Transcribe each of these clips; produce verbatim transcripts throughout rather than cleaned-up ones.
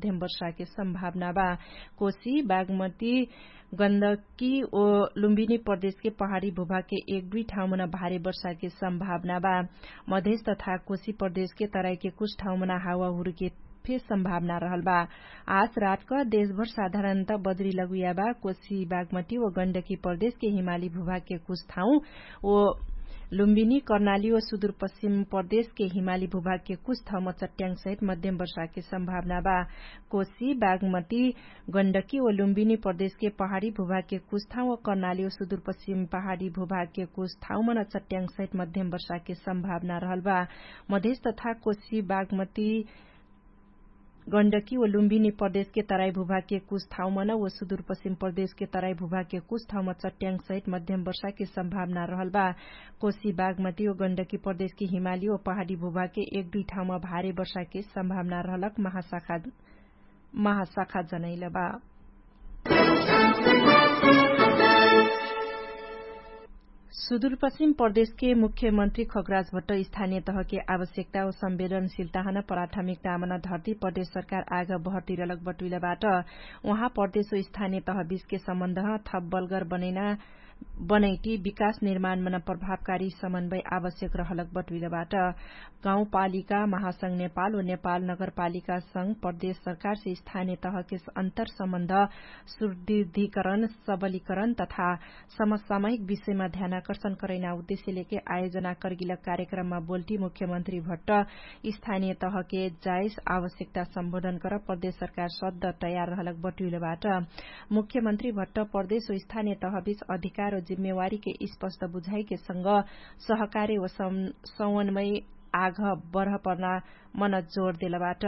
मध्यम वर्षाके सम्भावना बा। कोशी बागमती गन्दकी ओ लुम्बिनी प्रदेशके पहाडी भुभागके एक दुई ठाउँमन भारे वर्षाके सम्भावना बा। मधेश तथा कोशी प्रदेशके तराइके कुछ ठाउँमन हावाहुरके फे सम्भावना रहल बा। आज रातक देशभर साधारणत बजरी लगुया बा। कोशी बागमती ओ गण्डकी प्रदेशके हिमाली भुभागके कुछ ठाउँ ओ लुम्बिनी कर्णाली ओ सुदुरपश्चिम प्रदेशके हिमाली भुभागके कुछ ठाउँम चट्याङ सहित मध्यम वर्षाके सम्भावना बा। कोशी बागमती गण्डकी ओ लुम्बिनी प्रदेशके पहाडी भुभागके कुछ ठाउँ ओ कर्णाली ओ सुदुरपश्चिम पहाडी भुभागके कुछ ठाउँमन चट्याङ सहित मध्यम वर्षाके सम्भावना रहल बा। मधेश तथा कोशी बागमती गण्डकी ओ लुम्बिनी प्रदेशके तराई भुभागके कुछ ठाउँमन ओ सुदुरपश्चिम प्रदेशके तराई भुभागके कुछ ठाउँम चट्याङ सहित मध्यम वर्षाके सम्भावना रहल बा। कोशी बागमती ओ गण्डकी प्रदेशके हिमाली ओ पहाडी भुभागके एक दुई ठाउँम भारे वर्षाके सम्भावना रहलक महाशाखा महाशाखा जनैल बा। सुदुरपश्चिम प्रदेशके मुख्यमन्त्री खगराज भट्ट स्थानीय तहके आवश्यकता ओ संवेदनशीलताहन प्राथमिकतामन धर्ती प्रदेश सरकार आग बहर्तिरलक बटुइलबाट। उहाँ प्रदेश ओ स्थानीय तह बिचके सम्बन्धह थप बलगर बनैना बनैटी विकास निर्माणमन प्रभावकारी समन्वय आवश्यक रहलक बटुइलबाट। गाउँपालिका महासंघ नेपाल ओ नेपाल नगरपालिका संघ प्रदेश सरकारसे स्थानीय तहके अन्तर सम्बन्ध सुदृढीकरण सबलीकरण तथा समसामयिक विषयमा ध्यानाकर्षण करैना उद्देश्य लेके आयोजना कर्गिलक कार्यक्रममा बोल्टी मुख्यमन्त्री भट्ट स्थानीय तहके जाइस आवश्यकता सम्बोधन कर प्रदेश सरकार सद्ध तयार रहलक बटुइलबाट। मुख्यमन्त्री भट्ट प्रदेश ओ स्थानीय तहबीच अधिकार ओ जिम्मेवारीके स्पष्ट बुझाइके संग सहकार्य ओ समन्वय आघ बढ पर्ना मन जोर देलबाट।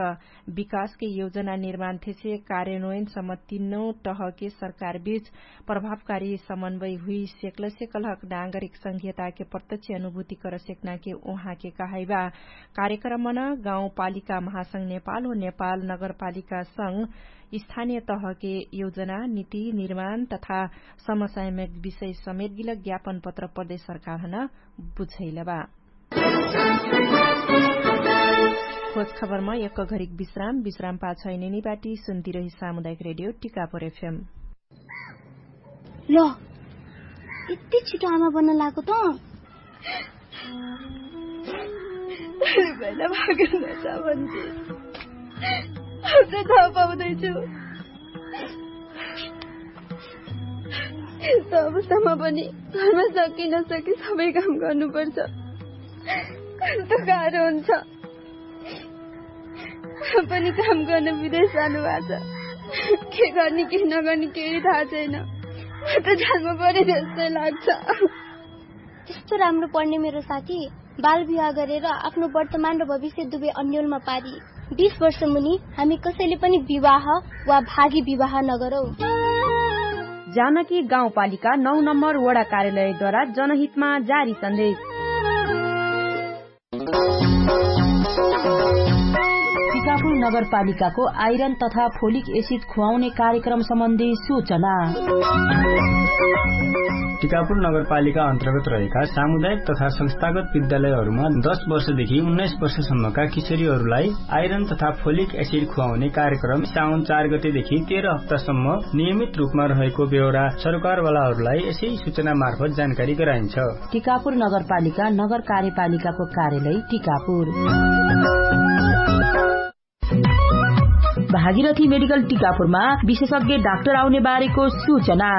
विकासके योजना निर्माण थेसे कार्यान्वयनसम्म तिन्नौ तहके सरकारबीच प्रभावकारी समन्वय हुइ सेक्लसे कलहक नागरिक संघीयताके प्रत्यक्ष अनुभूति कर सेक्नाके उहाँके कहाइबा। कार्यक्रमन गाउँपालिका महासंघ नेपाल हो नेपाल नगरपालिका संघ स्थानीय तहके योजना निति निर्माण तथा समस्यायमा विषय समेत गिलक ज्ञापन पत्र प्रदेश सरकारहन बुझैलबा। खोज खबरमा यक्क घरिक विश्राम विश्राम पाछैनेनी बाटी सुन्तिरही सामुदायिक रेडियो टिकापुर एफएम। ल, यति छिटो आमा बन्न लागो त। पहिला भागेर नजा भन्थे। अब त थाहा पाउँदैछु। यस्तो अवस्थामा पनि घरमा सकि नसकि सबै काम गर्नुपर्छ। कस्तो गाह्रो हुन्छ। पनि काम गर्न विदेश जानुभएको छ। के गर्ने के नगर्ने केही थाहा छैन। म त जानु पर्यो जस्तै लाग्छ। त्यस्तो राम्रो पढ्ने मेरो साथी बाल विवाह गरेर आफ्नो वर्तमान र भविष्य दुवै अन्यलमा पारी। बिस वर्ष मुनि हामी कसैले पनि विवाह वा भागी विवाह नगरौँ। जानकी गाउँपालिका नौ नम्बर वडा कार्यालयद्वारा जनहितमा जारी सन्देश। टिकापुर नगरपालिकाको आइरन तथा फोलिक एसिड खुवाउने कार्यक्रम सम्बन्धी सूचना। टिकापुर नगरपालिका अन्तर्गत रहेका सामुदायिक तथा संस्थागत विद्यालयहरूमा दस वर्षदेखि उन्नाइस वर्षसम्मका किशोरीहरूलाई आइरन तथा फोलिक एसिड खुवाउने कार्यक्रम साउन चार गतेदेखि तेह्र हप्तासम्म नियमित रूपमा रहेको बेहोरा सरकारवालाहरूलाई यसै सूचना मार्फत जानकारी गराइन्छ। टिकापुर नगरपालिका नगर कार्यपालिकाको कार्यालय टिकापुर। भागीरथी मेडिकल टिकापुरमा विशेषज्ञ डाक्टर आउने बारेको सूचना।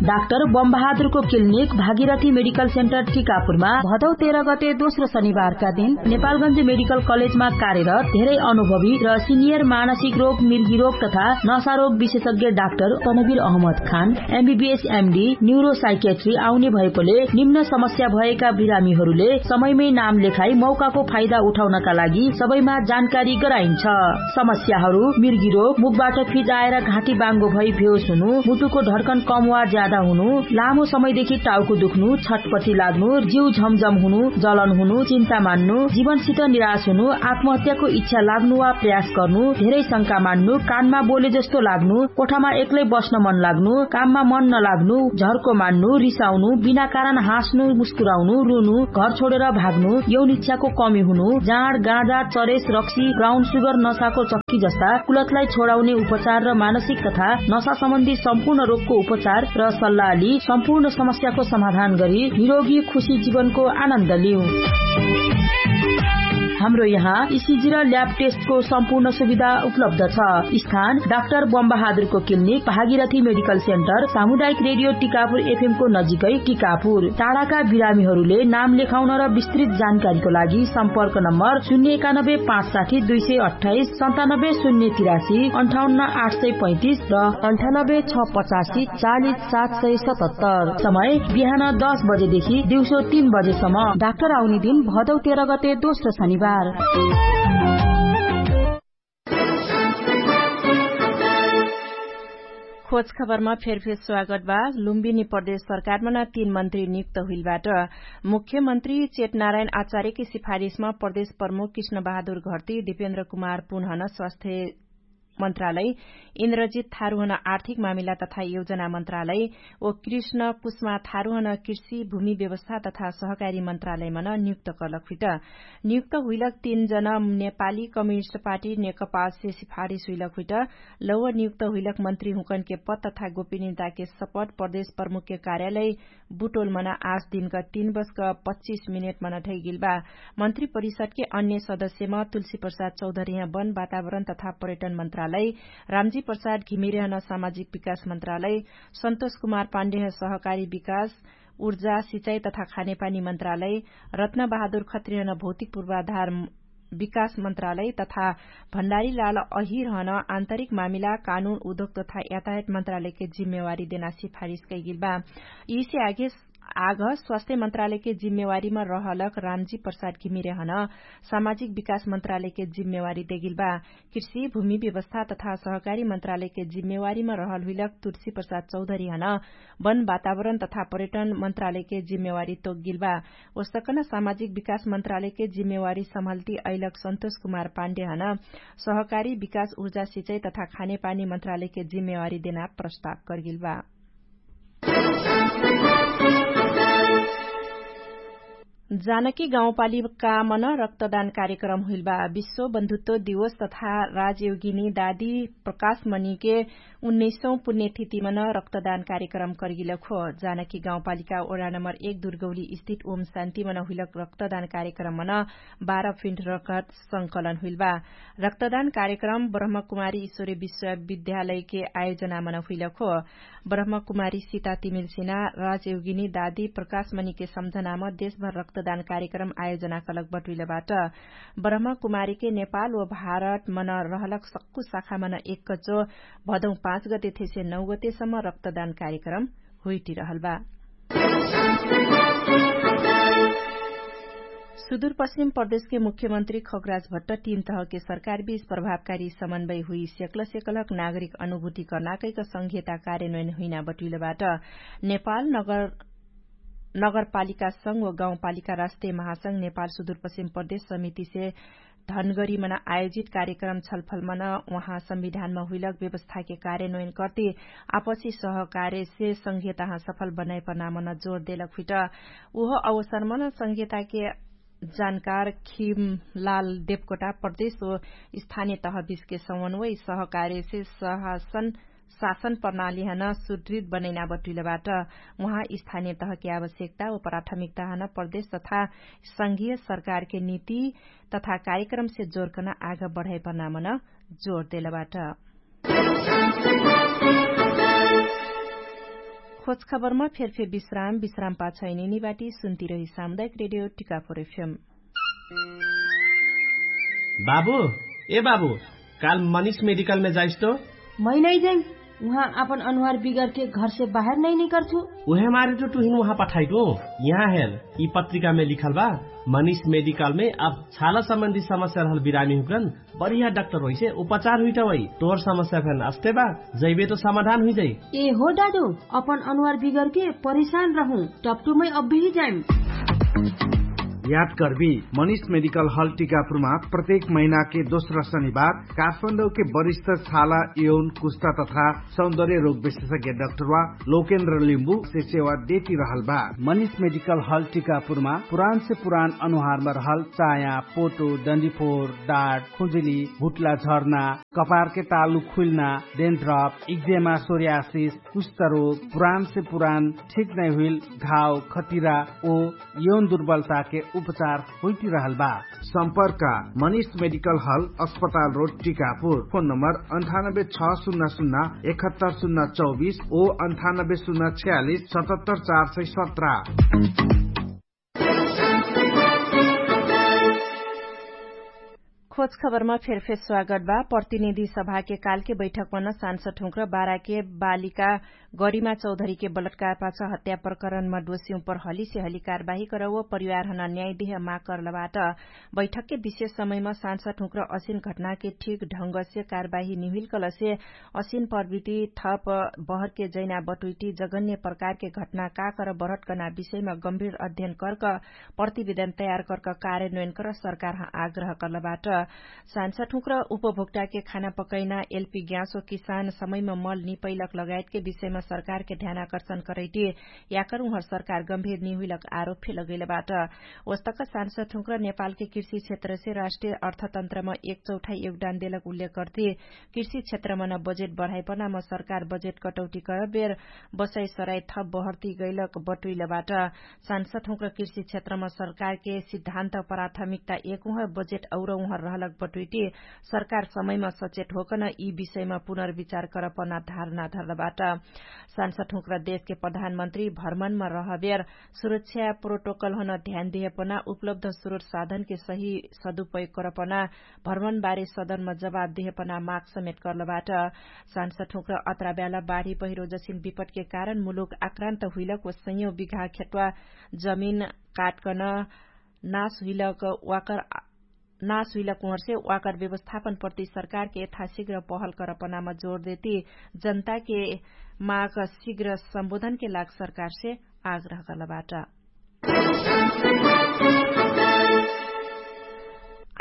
डाक्टर बमबहादुरको क्लिनिक भागीरथी मेडिकल सेन्टर टिकापुरमा भदौ तेह्र गते दोस्रो शनिबारका दिन नेपालगञ्ज मेडिकल कलेजमा कार्यरत धेरै अनुभवी र सिनियर मानसिक रोग मिर्गी रोग तथा नसारोग विशेषज्ञ डाक्टर तनवीर अहमद खान एमबिबिएस एमडी न्युरोसाइकेट्री आउने भएकोले निम्न समस्या भएका बिरामीहरूले समयमै नाम लेखाई मौकाको फाइदा उठाउनका लागि सबैमा जानकारी गराइन्छ। समस्याहरू मिर्गी रोग मुखबाट फिजाएर घाँटी बाङ्गो भई भेउस हुनु मुटुको ढड्कन कम वा ज्यादा हुनु, लामो समयदेखि टाउको दुख्नु, छटपटी लाग्नु, जिउ झमझम हुनु, जलन हुनु, चिन्ता मान्नु, जीवनसित निराश हुनु, आत्महत्याको इच्छा लाग्नु वा प्रयास गर्नु, धेरै शंका मान्नु, कानमा बोले जस्तो लाग्नु, कोठामा एक्लै बस्न मन लाग्नु, काममा मन नलाग्नु, झर्को मान्नु, रिसाउनु, बिना कारण हाँस्नु, मुस्कुराउनु, रुनु, घर छोडेर भाग्नु, यौन इच्छाको कमी हुनु, जाँड गाँजा, चरेस, रक्सी, ब्राउन सुगर, नसाको चक्की जस्ता कुलतलाई छोडाउने उपचार र मानसिक तथा नसा सम्बन्धी सम्पूर्ण रोगको उपचार र सल्लाहली सम्पूर्ण समस्याको समाधान गरी निरोगी खुशी जीवनको आनन्द लिउ। हाम्रो यहाँ इसिजी र ल्याब टेस्टको सम्पूर्ण सुविधा उपलब्ध छ। स्थान डाक्टर बमबहादुरको क्लिनिक, भागीरथी मेडिकल सेन्टर, सामुदायिक रेडियो टिकापुर एफएमको नजिकै टिकापुर। टाढाका बिरामीहरूले नाम लेखाउन र विस्तृत जानकारीको लागि सम्पर्क नम्बर शून्य एकानब्बे पाँच साठी दुई सय अट्ठाइस, सन्तानब्बे शून्य तिरासी, अन्ठाउन्न आठ सय पैँतिस र अन्ठानब्बे छ पचासी चालिस सात सय सतहत्तर। समय बिहान दस बजेदेखि दिउँसो तीन बजेसम्म। डाक्टर आउने दिन भदौ तेह्र गते दोस्रो शनिबार। खोज खबरमा फेरफेर स्वागत बा। लुम्बिनी प्रदेश सरकारमा न तीन मन्त्री नियुक्त हुइलबाट। मुख्यमन्त्री चेतनारायण आचार्यकी सिफारिसमा प्रदेश प्रमुख कृष्ण बहादुर घर्ती, दिपेन्द्र कुमार पुनहन स्वास्थ्य मन्त्रालय, इन्द्रजित थारुहन आर्थिक मामिला तथा योजना मन्त्रालय, ओ कृष्ण कुष्मा थारुहन कृषि भूमि व्यवस्था तथा सहकारी मन्त्रालयमन नियुक्त कर्लक हुइट। नियुक्त हुइलक तीन जन नेपाली कम्युनिस्ट पार्टी नेकपासे सिफारिस हुइलक हुइट। लौव नियुक्त हुइलक मन्त्री हुँकनके पद तथा गोपिनिताके सपट प्रदेश प्रमुखके कार्यालय बुटोलमन आस दिनक तीन बजक पच्चिस मिनेटमन ढैगिलबा। मन्त्री परिषदके अन्य सदस्यम तुलसी प्रसाद चौधरीह वन वातावरण तथा पर्यटन मन्त्रालय, रामजी प्रसाद घिमिरेहन सामाजिक विकास मन्त्रालय, सन्तोष कुमार पाण्डेह सहकारी विकास, उर्जा सिचाई तथा खानेपानी मन्त्रालय, रत्न बहादुर खत्रिहन भौतिक पूर्वाधार विकास मन्त्रालय तथा भण्डारीलाल अहिरहन आन्तरिक मामिला कानुन उद्योग तथा यातायात मन्त्रालयके जिम्मेवारी देना सिफारिस कैगिलबा। यिसे आगे आग स्वास्थ्य मन्त्रालयके जिम्मेवारीमा रहलक रामजी प्रसाद घिमिरेहन सामाजिक विकास मन्त्रालयके जिम्मेवारी देगिलबा। कृषि भूमि व्यवस्था तथा सहकारी मन्त्रालयके जिम्मेवारीमा रहल हुइलक तुलसी प्रसाद चौधरीहन वन वातावरण तथा पर्यटन मन्त्रालयके जिम्मेवारी तोगिलबा। ओसकन सामाजिक विकास मन्त्रालयके जिम्मेवारी सम्हल्ती अइलक सन्तोष कुमार पाण्डेहन सहकारी विकास उर्जा सिचाई तथा खानेपानी मन्त्रालयके जिम्मेवारी देना प्रस्ताव कर्गिलबा। जानकी गाउँपालिकामन रक्तदान कार्यक्रम हुइलबा। विश्व बन्धुत्व दिवस तथा राजयोगिनी दादी प्रकाशमणिके उन्नैसौँ पुण्यथितिमन रक्तदान कार्यक्रम कर्गिलक हो। जानकी गाउँपालिका ओडा नम्बर एक दुर्गौली स्थित ओम शान्तिमन हुइलक रक्तदान कार्यक्रममन बाह्र फिन्ट रकत संकलन हुइलबा। रक्तदान कार्यक्रम ब्रह्मकुमारी ईश्वरी विश्वविद्यालयके आयोजनामन हुइलक हो। ब्रह्मकुमारी सीता तिमिल्सिना राजयोगिनी दादी प्रकाशमणिके सम्झनाम देशभर रक्तदान कार्यक्रम आयोजना कलक बटुइलबाट। ब्रह्मकुमारीके नेपाल व भारतमन रहलक सक्कु शाखामन एक कचो भदौ पाँच गते थेसे नौ गतेसम्म रक्तदान कार्यक्रम हुइटिरहलबा। सुदूरपश्चिम प्रदेशके मुख्यमन्त्री खगराज भट्ट तीन तहके सरकारबीच प्रभावकारी समन्वय हुइ सेक्ल सेक्लक नागरिक अनुभूति कर्नाकैक संघीयता कार्यन्वयन हुइना बटुइलबाट। नेपाल नगरपालिका संघ व गाउँपालिका राष्ट्रिय महासंघ नेपाल सुदूरपश्चिम प्रदेश समितिसे धनगरीमन आयोजित कार्यक्रम छलफलमन उहाँ संविधानमा हुइलक व्यवस्थाके कार्यन्वयन कर्ति आपसी सहकारेसे संघीयताहाँ सफल बनाइपर्नामन जोर देलक हुइट। उहो अवसरमन संघीयताके जानकार खिमलाल देवकोटा प्रदेश ओ स्थानिय तहबिसके समन्वय सहकारेसे सहसन शासन प्रणालीहन सुदृत बनैना बटुइलबाट। उहाँ स्थानिय तहके आवश्यकता ओ प्राथमिकताहन प्रदेश तथा संघीय सरकारके नीति तथा कार्यक्रमसे जोरकन आग बढाइपर्नामन जोर देलबाट। खोज खबरमा फेरफेर विश्राम विश्राम पाछैनिनी बाटी सुन्तिरही सामुदायिक रेडियो टिकाफोर एफएम। बाबु, ए बाबु, काल मनिष मेडिकलमे जाइस्तो? मै नै जाइम। उहाँ अपन अनुहार बिगरके घरसे बाहेर नै निकरथु। उहे मारे टु टुहिन उहाँ पठाइटु। यहाँ हेर, यि पत्रिकामे लिखल बा, मनिष मेडिकलमे अब छाला सम्बन्धी समस्या रहल बिरामी हुकरन बढिया डाक्टर होइसे उपचार हुइटा वै। तोर समस्या फेन अस्ते बा, जैबे त समाधान हुइजाइ। ए हो दादु, अपन अनुहार बिगरके परेशान रहु, टपटुमै अब्बेही जाइम। याद करबी, मनिष मेडिकल हल टिकापुरमा प्रत्येक महिनाके दोस्रा शनिबार काठमाडौके बरिष्ठ छाला, यौन, कुस्ता तथा सौन्दर्य रोग विशेषज्ञ डाक्टर वा लोकेन्द्र लिम्बु से सेवा देती रहल बा। मनिष मेडिकल हल टिकापुरमा पुरान से पुरान अनुहारमा रहल चाया, पोटो, डन्डीफोर, डाट, खुजुली, भुट्ला झर्ना, कपारके तालु खुइल्ना, डेन्ड्रप, इक्जेमा, सोरियासिस, कुष्ठरोग, पुरान से पुरान ठीक नै हुइल घाव, खतिरा ओ यौन दुर्बलताके उपचार होइती रहल बा। सम्पर्क, मनिष मेडिकल हल, अस्पताल रोड, टिकापुर। फोन नम्बर अन्ठानब्बे छ सुन्ना सुन्ना एकहत्तर सुन्ना चौबिस ओ अन्ठानब्बे सुन्ना छ्यालिस सतहत्तर चार सय सत्र। खोज खबरमा फेरफेर स्वागत बा। प्रतिनिधि सभाके कालके बैठकमा न सांसद हुँक्र बाराके बालिका गरिमा चौधरीके बलात्कार पाछ हत्या प्रकरणमा डोसी उपर हलिसे हलि कारबाही करव परिवारहन न्याय देह माग करलबाट। बैठकके विशेष समयमा सांसद हुँक्र असिन घटनाके ठीक ढंगसे कारबाही निहुइल कलसे असिन प्रवृत्ति थप बहरके जैना बटुइटी जगन्य प्रकारके घटना का कर बढटकना विषयमा गम्भीर अध्ययन कर्क प्रतिवेदन तयार कर्क कार्यान्वयन कर सरकारह आग्रह कर्लबाट। सांसद हुँक्र उपभोक्ताके खाना पकैना एलपी ग्याँसो किसान समयमा मल निपैलक लगायतके विषयमा सरकारके ध्यानाकर्षण करैटी याकर उहर सरकार गम्भीर निहुइलक आरोप फे लगैलबाट। ओस्तक सांसद हुँक्र नेपालके कृषि क्षेत्रसे राष्ट्रिय अर्थतन्त्रमा एक चौठाइ योगदान देलक उल्लेख कर्ती कृषि क्षेत्रमन बजेट बढाइपनाम सरकार बजेट कटौटी करबेर बसै सराइ थप बहर्ती गैलक बटुइलबाट। सांसद हुँक्र कृषि क्षेत्रम सरकारके सिद्धान्त प्राथमिकता एक उहर बजेट औरौहर रहलक बटुइटी सरकार समयम सचेट होकन यि विषयम पुनर्विचार करपना धारणा धर्लबाट। सांसद हुँक्र देशके प्रधानमन्त्री भर्मणम रहबेर सुरक्षा प्रोटोकलहन ध्यान देहपना उपलब्ध स्रोत साधनके सही सदुपयोग करपना भर्मणबारे सदनमा जवाब देहपना माग समेट कर्लबाट। सांसद हुँक्र अत्राब्याला बाढी पहिरो जसिन विपटके कारण मुलुक आक्रान्त हुइलक व सैयौं बिघा खेट्वा जमिन काटकन नास हुइलक वाकर नास हुइलक उहरसे वाकर व्यवस्थापन प्रति सरकारके यथाशिघ्र पहल करपनामा जोर देती जनताके माग शिघ्र सम्बोधनके लाग सरकारसे आग्रह कर्लबाट।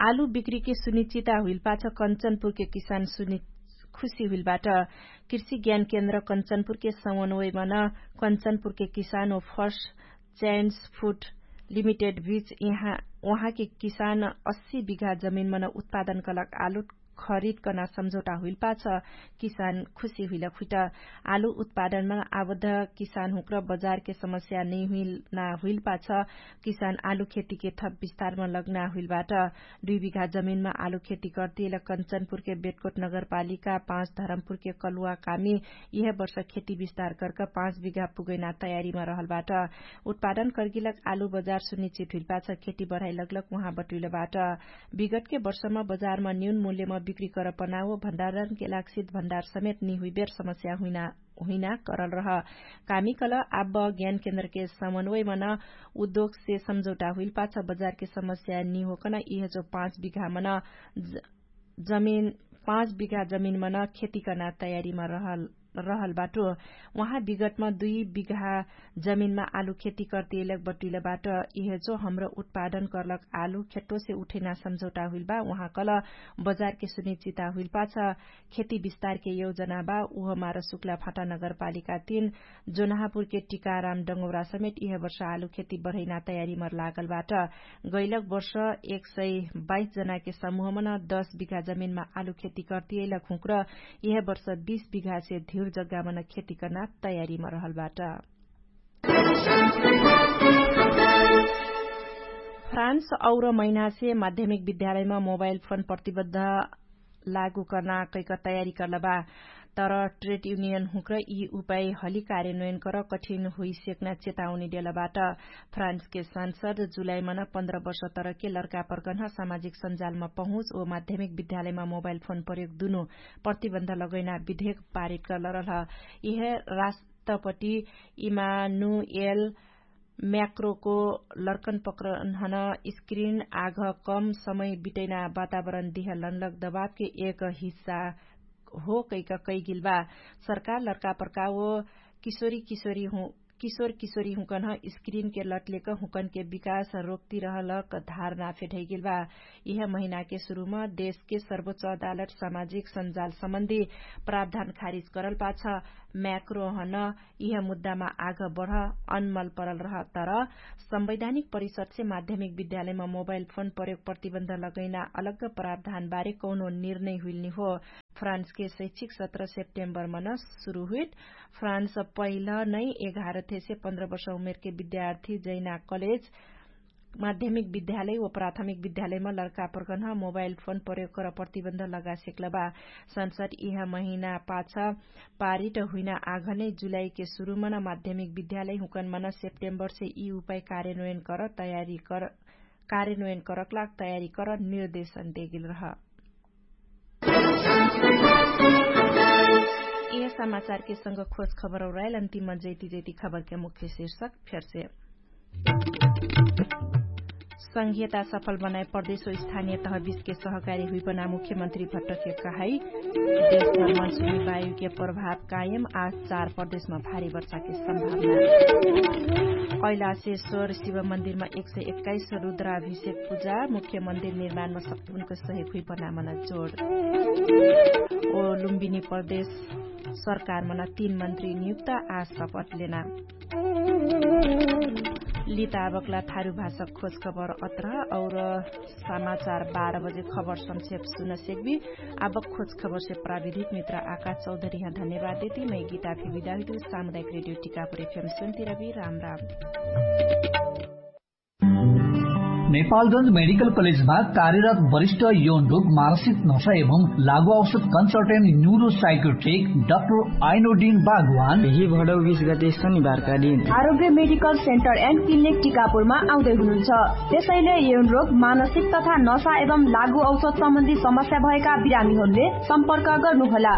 आलु बिक्रीके सुनिश्चिता हुइलपाछ कन्चनपुरके किसान सुनि खुशी हुइलबाट। कृषि ज्ञान केन्द्र कन्चनपुरके समन्वयमन कन्चनपुरके किसान ओ फर्स्ट च्यान्स फुट लिमिटेड बिच उहाँके किसान अस्सी बिघा जमिनमन उत्पादन कलक आलु खरिद कना सम्झौटा हुइलपाछ किसान खुशी हुइलक हुइट। आलु उत्पादनमा आबद्ध किसान हुँक्र बजारके समस्या नैहुइलना हुइलपाछ किसान आलु खेतीके थप विस्तारमा लग्ना हुइलबाट। दुइ बिघा जमिनमा आलु खेती कर्तिएल कन्चनपुरके बेटकोट नगरपालिका पाँच धरमपुरके कलुवा कामी यिहे वर्ष खेती विस्तार कर्क पाँच बिघा पुगैना तयारीमा रहलबाट। उत्पादन कर्गिलक आलु बजार सुनिश्चित हुइलपाछ खेती बढाइ लग्लक उहाँ बटुइलबाट। विगतके वर्षमा बजारमा न्यून मूल्यमा बिक्री करपना व भण्डारणके लाग सित भण्डार समेत निहुइबेर समस्या हुइना हुइना करल रह। कामिकल आब ज्ञान केन्द्रके समन्वयमन उद्योगसे सम्झौटा हुइलपाछ बजारके समस्या निहोकन इहजो पाँच बिघामन जमिन पाँच बिघा जमिनमन खेती कर्ना तयारीमा रहल रहल बाटो। उहाँ विगतमा दुइ बिघा जमिनमा आलु खेती कर्तिएलक बटुइलबाट। इहजो हमरो उत्पादन कर्लक आलु खेट्टोसे उठैना सम्झौटा हुइलबा उहाँकल बजारके सुनिश्चिता हुइलपाछ खेती विस्तारके योजना बा। उहमार सुक्ला फाटा नगरपालिका तीन जोनहापुरके टिकाराम डङ्गौरा समेत इहे वर्ष आलु खेती बढैना तयारीमर लागलबाट। गैलक वर्ष एक सय बाइस जनाके समूहमन दस बिघा जमिनमा आलु खेती कर्तिएलक हुँक्र इहे वर्ष बिस बिघासे धिर जग्गामन खेती कर्ना तयारीमर रहलबाट। फ्रान्स और महिनासे माध्यमिक विद्यालयमा मोबाइल फोन प्रतिबद्ध लागू कर्ना कैक तयारी कर्लबा। तर ट्रेड युनियन हुँक्र यि उपाय हलि कार्यान्वयन कर कठिन हुइसेक्ना चेताउनी देलबाट। फ्रान्सके सांसद जुलाइमन पन्ध्र वर्ष तरके लर्कापर्गन्ह सामाजिक सञ्जालमा पहुँच ओ माध्यमिक विद्यालयमा मोबाइल फोन प्रयोग दुनु प्रतिबन्ध लगैना विधेक पारित करलरलह। इहे राष्ट्रपति इमानुएल म्याक्रोको लर्कन पक्रन्हन स्क्रिन आघ कम समय बिटैना वातावरण दिह लनलक दबावके एक हिस्सा हो कैक कैगिलबा। सरकार लर्कापर्का ओ किशोरी किशोरी हुँ किशोर किशोरी हुँकन्ह स्क्रिनके लटलेक हुँकनके विकास रोक्तिरहलक धारणा फेठैगिलबा। इह महिनाके सुरुम देशके सर्वोच्च अदालत सामाजिक सञ्जाल सम्बन्धी प्रावधान खारिज करल पाछ म्याक्रोहन इह मुद्दामा आघ बढ अनमल परल रह। तर संवैधानिक परिषदसे माध्यमिक विद्यालयमा मोबाइल फोन प्रयोग प्रतिबन्ध लगैना अलग्ग प्रावधानबारे कौनो निर्णय हुइलनी हो। फ्रान्सके शैक्षिक सत्र सेप्टेम्बरमन सुरु हुइट। फ्रान्स पहिल नै एघार थेसे पन्ध्र वर्ष उमेरके विद्यार्थी जैना कलेज माध्यमिक विद्यालय व प्राथमिक विद्यालयमा लर्कापर्गन्ह मोबाइल फोन प्रयोग कर प्रतिबन्ध लगासेक्लबा। संसद इह महिना पाछ पारिट हुइना आघ नै जुलाइके सुरुमन माध्यमिक विद्यालय हुँकनमन सेप्टेम्बरसे यि उपाय कार्यान्वयन कर तयारी कर कार्यान्वयन करकलाग तयारी कर निर्देशन देगिल रह। यह समाचारके संग खोज खबर औराइल अन्तिम जैती जैती खबरके मुख्य शीर्षक फेरसे। संघीयता सफल बनाए प्रदेश ओ स्थानिय तहबिसके सहकारी हुइपना मुख्यमन्त्री भट्टके कहाई। देशमा मनसुनी वायुके प्रभाव कायम आज चार प्रदेशमा भारी वर्षाके सम्भावना। कैलाशेश्वर शिव मन्दिरमा एक सय एक्काइस रुद्राभिषेक पुजा मुख्य मन्दिर निर्माणमा सक्तुनको सहयोग हुइपना मन जोड। ओ लुम्बिनी प्रदेश सरकारमन तीन मन्त्री नियुक्त आज सपट लेना। लिताबकला थारु भाषा खोज खबर अत्र और समाचार बाह्र बजे खबर संक्षेप सुन सेक्बी। आबक खोज खबर से प्राविधिक मित्र आकाश चौधरी यहाँ धन्यवाद देती मै गीता फिर विदा हुइतु। सामुदायिक रेडियो टिकापुर एफएम सुन्ती रबी। राम राम। नेपालगन्ज मेडिकल कलेजमा कार्यरत वरिष्ठ यौन रोग मानसिक नशा एवं लागु औषध कन्सल्टेन्ट न्युरोसाइकोट्रिक डाक्टर आइनोडिन बागवान यही भडौ बिस गते शनिबारका दिन आरोग्य मेडिकल सेन्टर एन्ड क्लिनिक टिकापुरमा आउँदै हुनुहुन्छ। त्यसैले यौन रोग मानसिक तथा नशा एवं लागु औषध सम्बन्धी समस्या भएका बिरामीहरूले सम्पर्क गर्नुहोला।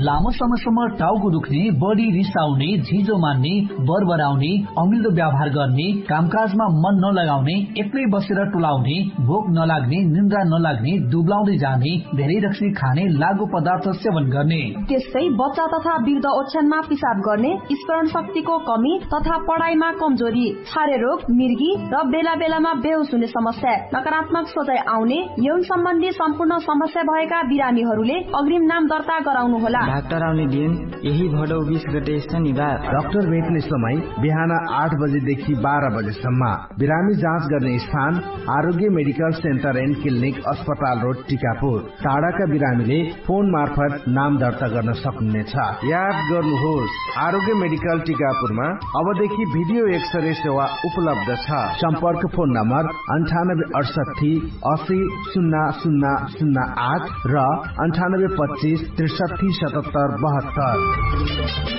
लामो समयसम्म टाउको दुख्ने, बढी रिसाउने, झिजो मान्ने, बरबराउने, अमिल्दो व्यवहार गर्ने, कामकाजमा मन नलगाउने, एक्लै बसेर टुलाउने, भोक नलाग्ने, निन्द्रा नलाग्ने, दुब्लाउँदै जाने, धेरै रक्सी खाने, लागु पदार्थ सेवन गर्ने। त्यस्तै बच्चा तथा वृद्ध ओछ्यानमा पिसाब गर्ने, स्मरण शक्तिको कमी तथा पढाइमा कमजोरी, छारे रोग, मिर्गी र बेला बेलामा बेहोस हुने समस्या, नकारात्मक सोचाइ आउने, यौन सम्बन्धी सम्पूर्ण समस्या भएका बिरामीहरूले अग्रिम नाम दर्ता गराउनुहोला। डाक्टर आउने दिन यही भडौ बिस गते शनिबार। डाक्टर भेट्ने समय बिहान आठ बजेदेखि बाह्र बजेसम्म। बिरामी जाँच गर्ने स्थान आरोग्य मेडिकल सेन्टर एन्ड क्लिनिक अस्पताल रोड टिकापुर। टाढाका बिरामीले फोन मार्फत नाम दर्ता गर्न सक्नुहुनेछ। याद गर्नुहोस्, आरोग्य मेडिकल टिकापुरमा अबदेखि भिडियो एक्सरे सेवा उपलब्ध छ। सम्पर्क फोन नम्बर अन्ठानब्बे अडसट्ठी असी सुन्ना सुन्ना सुन्ना आठ र अन्ठानब्बे पच्चिस त्रिसट्ठी सतहत्तर बहत्तर।